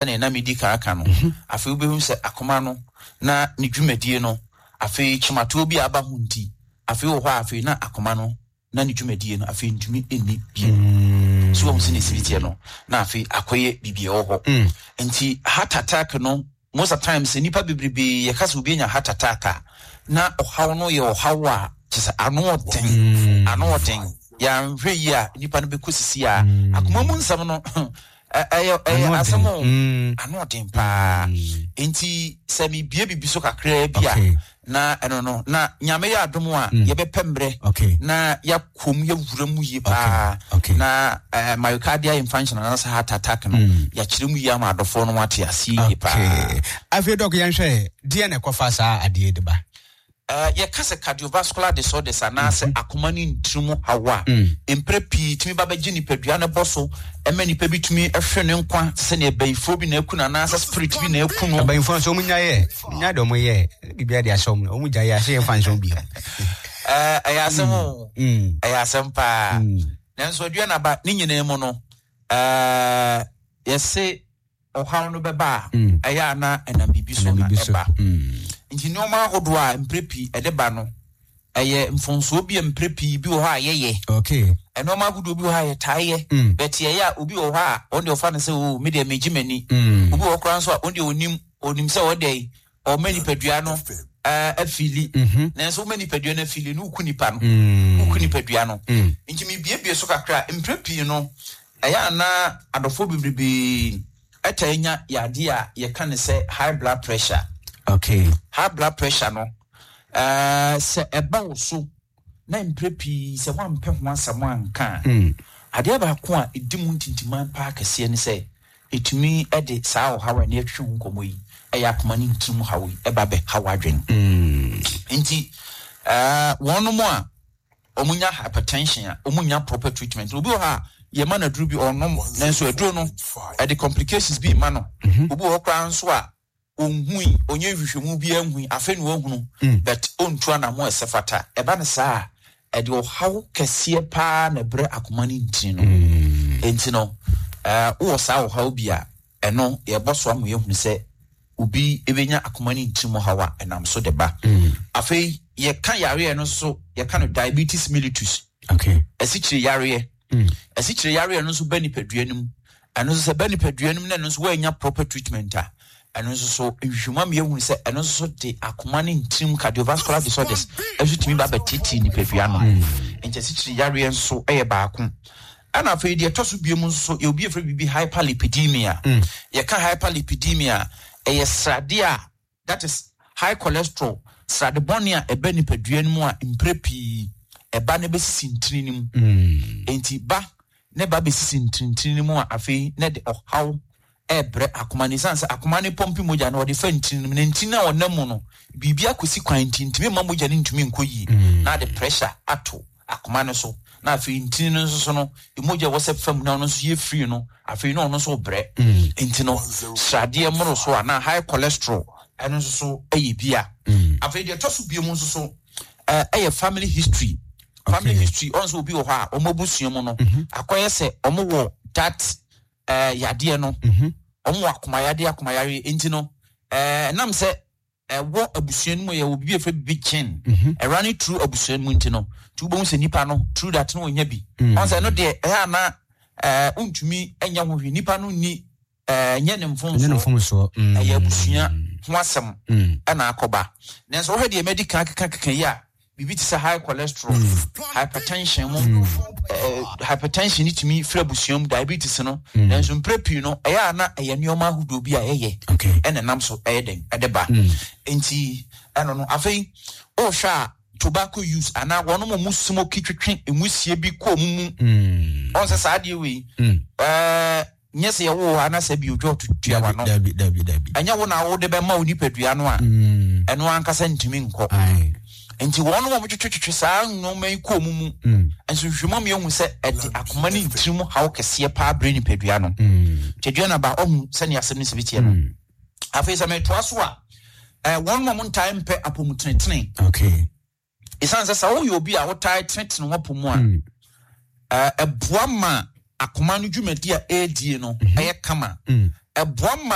Sɛnea na medi kan aka no, afei wobɛhu sɛ akoma no na ne dwumadie no, afei kyematoɔ bi a aba ho nti, afei wɔ hɔ a afei na akoma no na ne dwumadie no afei ntumi nni bio. So wɔn sɛ ne siri teɛ no, na afei akɔyɛ biribi ɛwɔ hɔ. Nti heart attack no, most of times nnipa bebrebe yɛka sɛ obi anya heart attack a, na ɔhaw no yɛ ɔhaw a kyɛ sɛ ano ɔden, ano ɔden. Yɛanhwɛ yie a nnipa no bɛkɔ sisi a akoma mu nsɛm no ɛyɛ ɛyɛ asɛm o mm. ano ɔden paa mm. nti sɛ mebie biribi so kakraa bi a na ɛno no na nyame yɛ adom a mm. yɛbɛpɛ mmerɛ na yɛakɔm yɛwura mu yie paa na eh, myocardial infarction anaasɛ heart attack no yɛakyerɛ mu yie ama adɔfoɔ no ate aseɛ yie paa. Afei dɔk yɛnhwɛ deɛ na ɛkɔfa saa adeɛ de ba. Yɛka sɛ cardiovascular disorders anaasɛ akoma ne ntini mu haw a, mprɛ pii tumi ba bɛgye nipadua no bɔ so ma nipa bi tumi hwere ne nkwa te sɛ nea bayifoɔ bi na aku no anaasɛ spirit bi na aku no. Abayifoɔ nso wɔn nya yɛ nya de wɔn yɛ biribi de ahyɛ wɔn wɔn gya yɛ ahyɛ yɛn fa nhyɛ wɔn bio. Ɛyɛ asɛm o, ɛyɛ asɛm paa. Nanso aduanaba ne nyinaa mu no, yɛse ɔhaw no bɛba a, ɛyɛ a na ɛnam biribi so na ɛba. Nti nneɛma ahodoɔ a mprɛ pii ɛde ba no, ɛyɛ mfomsoɔ bi a mprɛ pii bi wɔ hɔ a yɛyɛ. Nneɛma ahodoɔ bi wɔ hɔ a yɛtaa yɛ. But yɛyɛ a obi wɔ hɔ a ɔno deɛ ɔfa no sɛ o me deɛ megye m'ani. Obi wɔ hɔ koraa nso a ɔno deɛ ɔnim ɔnim sɛ ɔdɛ ɔma nipadua no afili. Nanso woma nipadua no afili no woku nipa no. Woku nipadua no. Nti mebiebie so kakra mprɛ pii no Ɛyɛ a na adɔfoɔ bebrebe taa nya yadeɛ a yɛka no sɛ high blood pressure. Okay. High blood pressure no, uh, sɛ ɛba wo so na mprɛ pii sɛ woampɛ ho asɛm anka a, adeɛ baako a ɛdi mu ntintiman paa kɛseɛ ne sɛ ɛtumi de saa ɔhaw a ɛne atwitwe ho nkɔmmɔ yi, ɛyɛ akoma ne ntirim haw yi, ɛba bɛhaw adwene. Nti, uh, wɔnom a wɔn nya hypertension a wɔn nya proper treatment. Obi wɔ hɔ a yɛma no aduro bi ɔnom nanso aduro no ɛde complications bi ma no. Mhm. Obi wɔ hɔ koraa nso a ɔnhui ɔnyɛ nhwehwɛmu bi anhui afei na wahunu mm. but ɔntu anamo ɛsɛ fata. Ɛba no saa a ɛde ɔhaw kɛseɛ paa na ɛbrɛ akoma no ntini no. Mm. Enti no wowɔ saa ɔhaw bi a ɛno yɛbɔ so ama yɛhunu sɛ obi bɛnya akoma ne ntini mu haw a ɛnam so de ba. Mm. Afei yɛka yareɛ no nso yɛka no diabetes mellitus. Okay. Asikyire yareɛ. Mm. Asikyire yareɛ no nso ba nipadua no mu. Ɛno nso sɛ ba nipadua no mu na ɛno nso woannya proper treatment a ɛno nso so nhwehwɛmu ama yɛhunu sɛ ɛno nso so de akoma ne ntirim cardiovascular disorders ɛnso tumi ba bɛtete nipadua no. Mm. Nti asikyire yareɛ nso yɛ baako. Ɛna afei deɛ ɛtɔ so biom nso so, yɛwɔ bi yɛfrɛ biribi hyperlipidemia. Mm. Yɛka hyperlipidemia a, ɛyɛ sradeɛ a, that is high cholesterol, srade bɔne a ɛba nipadua no mu a mprɛ pii ɛba na ɛbɛsisi ntini no mu. Mm. Enti ba na ɛba bɛsisi ntinintini no mu a afei na ɛde ɔhaw ɛrebrɛ akoma no. Esiane sɛ akoma no pɔmpe mogya no, ɔde fa ntini no mu, na ntini no a ɔnam mu no, biribi akɔsi kwan nti, ntumi mma mogya no ntumi nkɔ yie, mm. na ade pressure ato akoma no so, na afei ntini no nso so no, mogya ɛwɔ sɛ fam na ɔno nso yɛ free no, afei na ɔno nso brɛ. Mm. Nti no, sradeɛ mmoro so a, na high cholesterol, ɛno nso so ɛyɛ bi a. Mm. Afei deɛ ɛtɔ so bio mu nso so, ɛyɛ family history. Family history, ɔno nso obi wɔ hɔ a, wɔn abusua mu no, mm-hmm. akɔyɛ sɛ wɔn wɔ that ɛɛ yadeɛ no mhm. wɔn wɔ akomayadeɛ akomayareɛ nti no ɛɛ nam sɛ ɛwɔ abusua no mu yɛ wɔ bibi efɛ bibi kyen mhm. ɛra ne turu abusua no mu nti no nti wobɛhu sɛ nipa no turu dat no wɔnya bi mhm. ɔn sɛ ɛno deɛ ɛyɛ ana ɛɛ ntumi ɛnya ho hwee nipa no ni ɛɛ nyɛ ne mfomsoɔ ɛyɛ abusua ho asɛm ɛna akɔba nanso wɔhwɛ deɛ mɛdi kan keka keka yi a biribi te sɛ high cholesterol, hypertension mu, mm. eh, hypertension ne tumi firi abusua mu, diabetes no. Mm. Nanso mprɛ pii no, ɛyɛ a na ɛyɛ nneɛma ahodoɔ bi a ɛyɛ ɛna nam so ɛyɛ dɛn ɛde ba. Mm. Nti ɛno no afei ɔrehwɛ a tobacco use anaa wɔn mo mu smoke twetwe nwusie bi kɔ mu mu. Ɔn sɛ saa adeɛ wei. Ɛɛ Nyɛ sɛ yɛwoo wo anasɛ bi odwa ɔtutua w'ano. Dabi, dabi, dabi. Ɛnyɛ wo na wode bɛma wo nipadua no a, mm. ɛno ankasa ntumi nkɔ. Nti wɔn a wɔtwetwetwe saa nneɛma yi kɔɔ mu mu mm. nso nhwehwɛmu ama yɛahu sɛ ɛde akoma ne ntiri mu haw kɛseɛ paa brɛ nipadua no. Mm. Tadua no aba ɔhu sɛnea asɛm no si bi teɛ no. Afei sɛ metoa so a, eh, wɔn a wɔntae mpɛ apɔmutenetene. Okay. Esiane sɛ sɛ woyɛ obi a wotaa tenetene w'apɔ mu a, mm. ɛboa ma akoma no dwumadi a ɛredie no mhm. ɛyɛ kama. Mm. Ɛboa ma.